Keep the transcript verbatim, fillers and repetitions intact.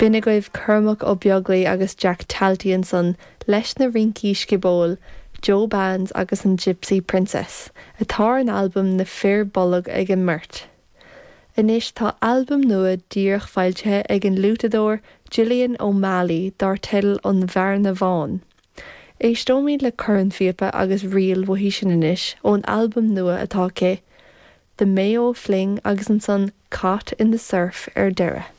B'in agaibh Cormac Ó Beaglaoi agus Jack Talty ansan leis na rincí sciobóil, Joe Bands agus an Gypsy Princess, atá ar an albam Na Fir Bolg ag an mbeirt. Anois tá albam nua díreach foilsithe ag an fhliútadóir Gillian O'Malley dar teideal An Bhearna Bhán. Éisteoimid le cornphíopa agus ríl uaithi sin anois ón albam nua atá aici, The Mayo Fling agus ansan Caught in the Surf ar deireadh.